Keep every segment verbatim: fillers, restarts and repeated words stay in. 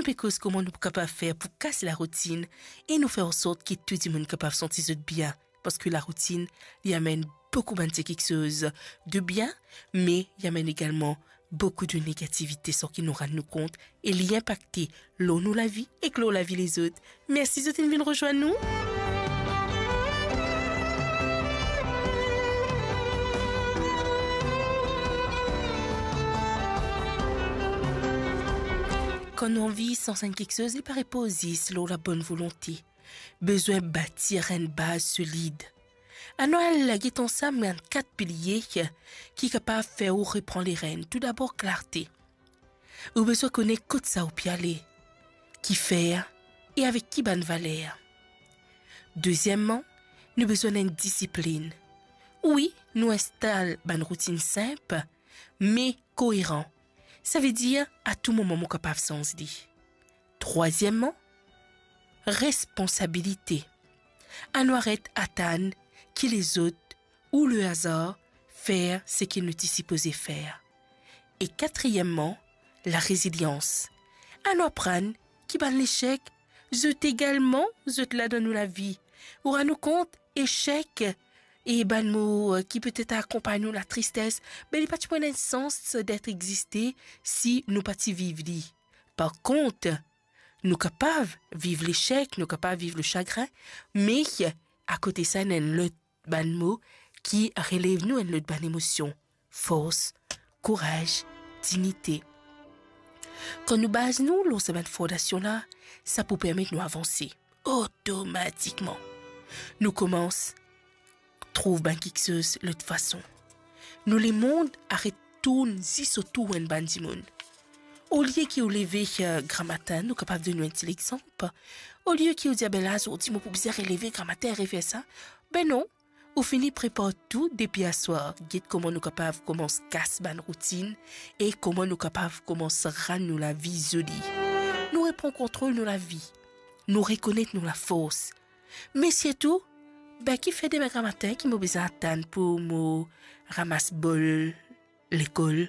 pe koz kouma nou kapav fer pou kas laroutinn e nou fer ansort ki tou dimoun kapav santi zot bien, parski laroutinn, li amenn boukou bann ti kiksoz de bien, me li amenn egalman boukou de negativite san ki nou rann nou kont, e li inpakte lor nou lavi ek lor lavi lezot. Mersi zot inn vinn rezwenn nou. Kan nou anvi sanz enn kiksoz, li pa repozis lor labonn volonte. Bizin batir enn baz solid. Anou al get ansam bann kat pilie ki kapav fer ou repran lerenn. Toudabor, klarte. Ou bizin kone kot sa ou pe ale, kifer e avek ki bann valer. Dezieman, nou bizin enn disiplinn. Wi, nou instal bann routinn sinp, me koeran. Savedir, a tou moman mo kapav sanz li. Trwazieman, responsabilite. Anou aret atann ki lezot ou le azar fer seki nou ti sipoze fer. E katriyemman, larezilians. Anou aprann ki bann lesek, zot egalman, zot la dan nou lavi. Ou rann ou kont, esek e bann mo, eh, ki petet akonpagn nou, latristes, be li pa ti pou ena sans det existe si nou pa ti viv li. Par kont, nou kapav viv lesek, nou kapav viv lesagrin, me akote sa, ena enn lot bann mo ki relev nou, enn lot bann emosion: fors, kouraz, dignite. Kan nou baz nou lor sa bann fondasion la, sa pou permet nou avanse. Otomatikman, nou koumans trouv bann kiksoz lot fason. Nou lemond aret tourn zis otour enn bann dimoun. Olie ki ou leve, eh, gramatin, nou kapav donn nou enn ti lexanp. Olie ki ou dir, "Be la, zordi mo pou bizin releve gramatin, refer sa." Be non, ou fini prepar tou depi aswar. Get kouma nou kapav koumans kas bann routinn e kouma nou kapav koumans rann nou lavi zoli. Nou repran kontrol nou lavi. Nou rekonet nou lafors. Me sirtou, be kifer demin gramatin ki mo bizin atann pou mo ramas bol lekol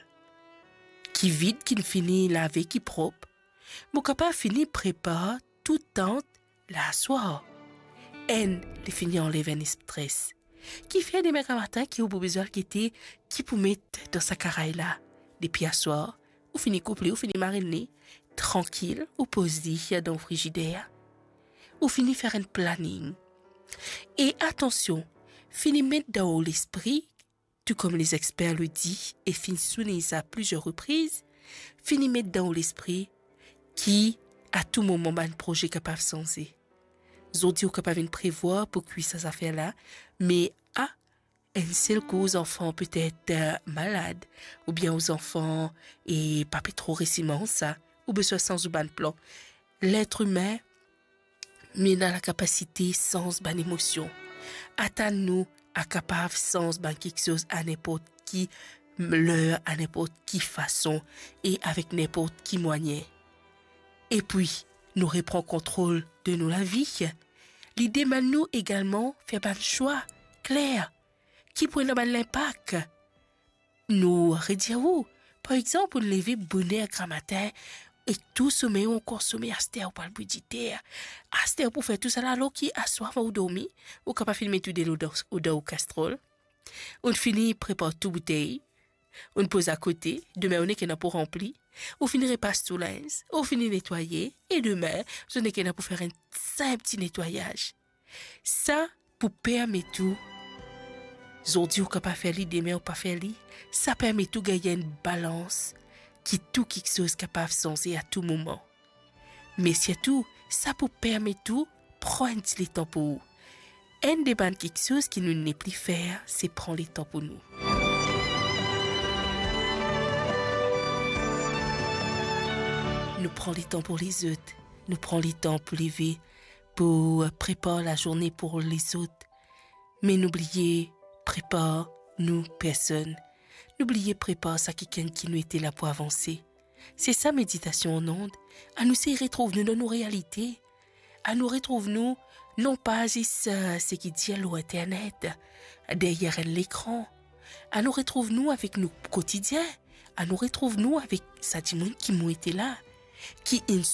ki vid, ki fini lave, ki prop? Mo kapav fini prepar tou tant la aswar. Enn, li fini anlev enn stres. Kifer demin gramatin ki ou pou bizin al gete ki pou met dan sa karay la? Depi aswar, ou fini koup li, ou fini marinn li, trankil, ou poz li dan frizider. Ou fini fer enn planning. E atansion, fini met dan ou lespri, tou kouma lezexper le di e finn soulign sa plizier repriz, fini met dan ou lespri ki a tou moman bann proze kapav sanze. Zordi ou kapav vinn prevwar pou kwi sa zafer la, me a enn sel kou zanfan petet, eh, malad, oubien ou zanfan e pa pe tro resi manz sa, ou bizin sanz ou bann plan. Letr imin, nou ena lakapasite sanz bann emosion. Atann nou a kapav sanz bann kiksoz a ninport ki ler, a ninport ki fason e avek ninport ki mwayin. Epi, nou repran kontrol de nou lavi. Li demann nou egalman fer bann swa kler ki pou ena bann linpak. Nou redir ou, par exanp, ou leve boner gramatin e tou somey ou ankor some, aster ou pou al bwar dite, aster ou pou fer tousala, alor ki aswar avan ou dormi, ou kapav finn met ou delo dan, dan ou kastrol, ou fini prepar tou boutey, ou poz akote, demin ou nek ena pou ranpli, ou fini repas tou linz, ou fini netwaye, e demin, ou nek ena pou fer enn sinp ti netwayaz. Sa pou permet ou, zordi ou kapav fer li, demin ou pa fer li, sa permet ou gagn enn balans ki tou kiksoz kapav sanze a tou moman. Me sirtou, sa pou permet ou pran enn ti letan pou ou. Enn de bann kiksoz ki nou nepli fer, se pran letan pou nou. Nou pran letan pou lezot, nou pran letan pou leve, pou prepar lazourne pou lezot. Me nou bliye prepar nou personn. Nou bliye prepar sa kikenn ki nou ete la pou avanse. Se sa meditasion an onn. Anou sey retrouv nou dan nou realite. Anou retrouv nou non pa zis, eh, seki dir lor internet, deryer enn lekran. Anou retrouv nou avek nou kotidien. Anou retrouv nou avek sa dimoun ki mo ete la, ki inn